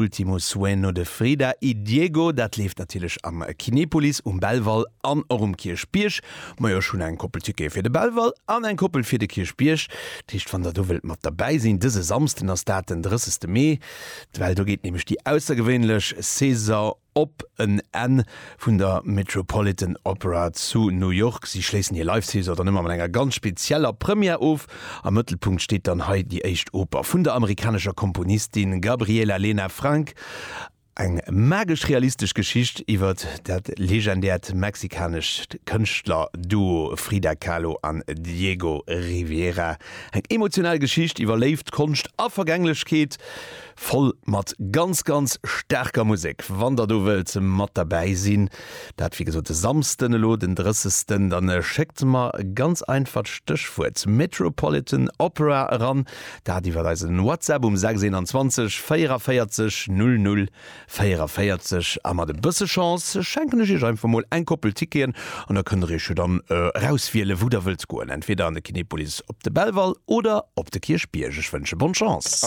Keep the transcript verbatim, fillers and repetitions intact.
Último Sueño de Frida y Diego, dat leeft natierlech am Kinepolis um Belval an och um Kierchbierg. Majo, ech hunn eng Koppel Tickete fir de Belval an eng Koppel fir de Kierchbierg. Dat heescht, wann der do wëllt mat derbäi sinn, dëse Samsden ass dat, den drëssegste Mee, well do geet nämlech déi aussergewéinlech Saison op en Enn vun der Metropolitan Opera zu New York. Si schléissen hir Live-Saison dann ëmmer mat enger ganz spezieller Première of. Am Mëttelpunkt steet dann hei déi éischt Oper vun der amerikanescher Komponistin Gabriela Lena Frank. Eng magesch realistesch Geschicht iwwer dat legendäert mexikanescht Kënschtler-Duo Frida Kahlo an Diego Rivera. Eng emotional Geschicht iwwer Léift, Konscht a Vergänglechkeet, voll mat ganz ganz staarker Musek. Wann der do wëllt mat derbäi sinn, dat wéi gesot de Samsden elo, den drëssegsten, dann schéckt mer ganz einfach d'Stéchwuert Metropolitan Opera eran, dat iwwer eisen WhatsApp um sechs einundzwanzeg véierundzwanzeg null null véierundvéierzeg a mat e bësse Chance schenken ech iech einfach mol eng Koppel Ticketen an da kënnt der iech jo dann erauswielen, wou der wëllt goen, entweder an de Kinepolis op de Belval oder op de Kierchbierg. Ech wënsche bonne Chance.